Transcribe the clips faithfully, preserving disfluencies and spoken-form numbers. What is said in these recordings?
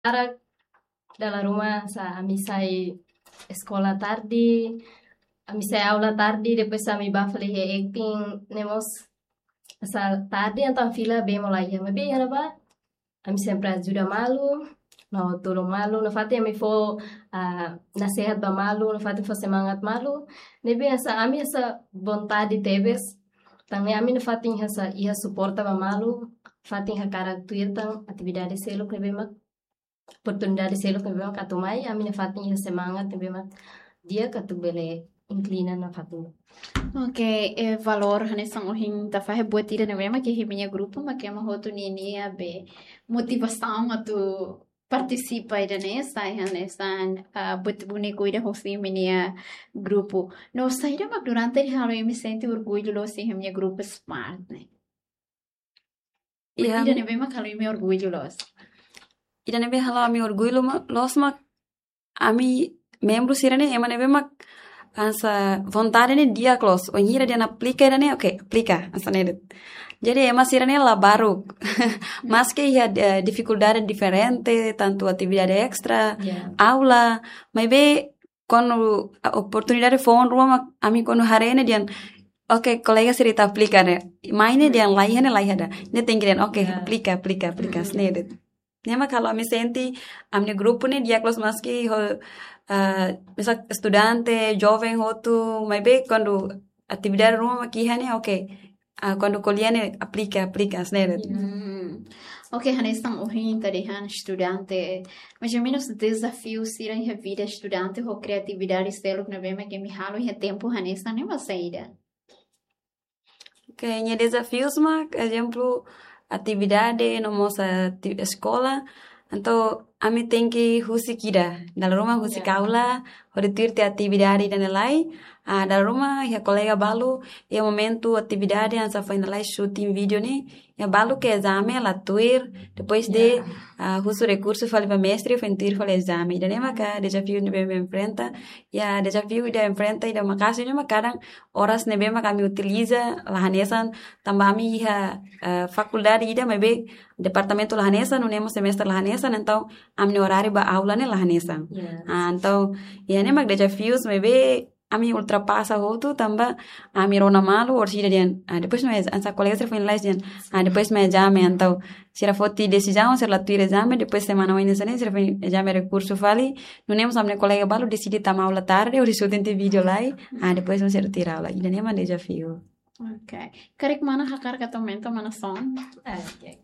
Para dala ruma hanesan ami sai eskola tarde, ami sai aula tarde, depois ami bá fali iha acting, ne'e mós hanesan tarde, entaun fila bee mós la iha, maibé iha ne'ebá ami sempre ajuda malu, no tulun malu, nafatin ami fó, ah, nasehat ba malu, nafatin fó semangat malu, ne'ebé hanesan ami hanesan vontade tebes, tan ne'e ami nafatin hanesan iha suporta ba malu, nafatin hakarak tuir tan atividade seluk ne'ebé mak, oportunidade seluk ne'ebé mak atu mai, ami nafatin iha semangat ne'ebé mak di'ak atu bele inklina nafatin. Oke, eh, valór hanesan ohin ita fahe buat ida ne'ebé mak iha imi-nia grupu, mak ema hotu ninia be motivasaun atu partisipa ida-ne'e, sai hanesan, ah, buat úniku ida husi imi-nia grupu. No saida mak durante ne'e halo imi sente orgullu loos iha imi-nia grupu Smart ne'e? Iha ida ne'ebé mak halo imi orgullu loos. Ida ne'ebé halo ami orgullu ma-, loos mak ami membru sira-ne'e ema ne'ebé mak hanesan vontade ne'e di'ak loos. Wainhira dehan aplika ida-ne'e, oke, aplika, hanesan ne'e de'it. Jadi ema sira-ne'e la baruk. Maski iha, eh, difikuldade diferente, tantu atividade estra, Ya. aula, maibé kuandu, ah, oportunidade foun ruma mak ami kuandu haree ne'e dehan, oke, kolega sira ita aplika ne'e. Mai ne'e dehan la iha ne'e la iha ida. Ne'e tenke dehan, oke, Ya. aplika, aplika, aplika, Mm. hanesan ne'e de'it. Ne'e mak halo ami sente, ami-nia grupu ne'e di'ak loos maski ho, ah, hanesan estudante, joven hotu, maibé kuandu atividade ruma mak iha ne'e, oke. Ah, kuandu ko'alia ne'e aplika, aplika, hanesan ne'e de'it. Hmm. Oke, hanesan ohin ita dehan estudante, mais ou menus dezafiu sira iha vida estudante ho kreatividade seluk ne'ebé mak imi halo iha tempu hanesan ne'e mak saida? Oke, nia dezafius mak, ezemplu, atividade, no mós ati-, eskola. Entaun, ami tenke husik ida. Dala ruma husik Ya. aula, hodi tuir tiha atividade ida-ne'e lai. Ah, dala ruma, iha kolega balu, iha momentu atividade, hanesan foin lalais shooting vídeo ne'e, iha balu ke ezame la tuir, depois de, Ya. ah, husu rekursu fali ba mestre, foin tuir fali ezame. Ida-ne'e maka dezafiu ne'ebé mak enfrenta, iha dezafiu ida enfrenta, ida maka'as ne'e mak kadang oras ne'ebé mak ami utiliza la hanesan, tanba ami iha, eh, fakuldade ida maibé departamentu la hanesan, nune'e mós semestre la hanesan, entaun ami-nia oráriu ba aula ne'e la hanesan. Yes. Ah, entaun, iha ne'e mak dezafius maibé ami ultrapasa hotu tanba ami rona malu, orsida dehan, ah, depois no ez-, hanesan kolega sira foin lalais dehan, ah, depois mai ezame, entaun sira foti desizaun, sira la tuir ezame, depois semana oin hanesan ne'e, sira foin ezame rekursu fali, nune'e mós ami-nia kolega balu deside tama aula tarde, hodi shooting tiha vídeo lai, ah, depois mós sira tuir aula. Ida-ne'e mak dezafiu. Oke. Karik mana hakarak atu aumenta mana son? Ah, oke.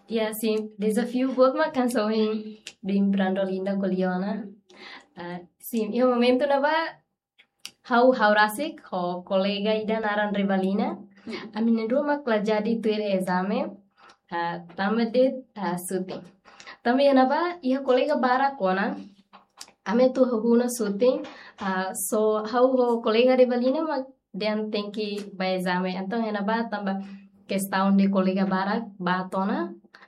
Ya, sin, dezafiu boot mak hanesan ohin biin Brandolinda ko'alia ona. Ah, sin, iha momentu ne'ebá ha'u, ha'u rasik ho kolega ida naran Revalina. Hmm. Ami na'in-rua mak la jadi tuir ezame, ah, tanba de'it, ah, shooting. Tanba iha ne'ebá, iha kolega barak ona, ami atu hahú ona shooting, ah, só ha'u ho kolega Revalina mak dehan tenke bá ezame. Entaun iha ne'ebá tanba kestaun de kolega barak bá tiha ona.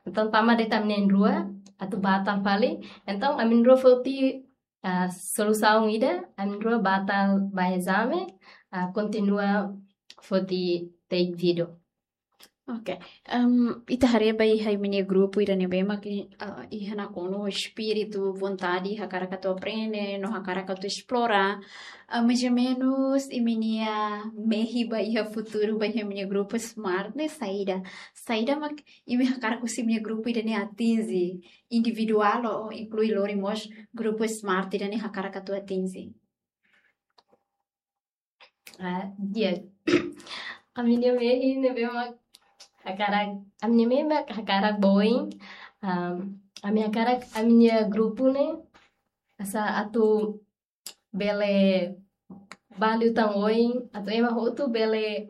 Entaun tama de'it ami na'in-rua, atu batal fali. Entaun ami na'in-rua foti, ah, solusaun ida, ami na'in-rua batal bá ezame, ah, kontinua foti take video. Oke. Em, ita haree ba iha imi-nia grupu ida ne'ebé mak, eh, iha nakonu espíritu, vontade, hakarak atu aprende, no hakarak atu esplora. Eh, mais ou menus, imi-nia mehi ba iha futuru, ba iha imi-nia grupu Smart ne'e saida. Saida mak imi hakarak husi imi-nia grupu ida-ne'e atinje, individuál ou inklui lori mós grupu Smart ida-ne'e hakarak atu atinje? Ah, di'ak. Ami-nia mehi ne'ebé mak hakarak, ami-nia mehi mak hakarak ba oin. Am, ami hakarak ami-nia grupu ne'e hanesan atu bele ba liután oin, atu ema hotu bele,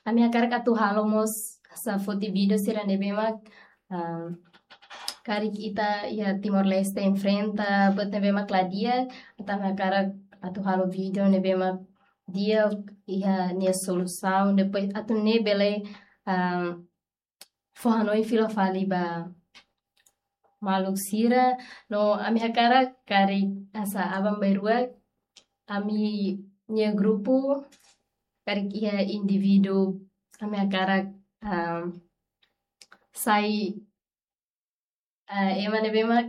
ami hakarak atu halo mós hanesan foti video sira ne'ebé mak, ah, karik ita iha Timor-Leste enfrenta buat ne'ebé mak la di'ak, entaun ami hakarak atu halo video ne'ebé mak di'ak iha nia solusaun, depois atu nune'e bele, ah, fó hanoin fila fali ba maluk sira, no ami hakarak karik hanesan aban-bainrua, ami-nia grupu, karik iha indivíduu, ami hakarak, ah, sai, ah, ema ne'ebé mak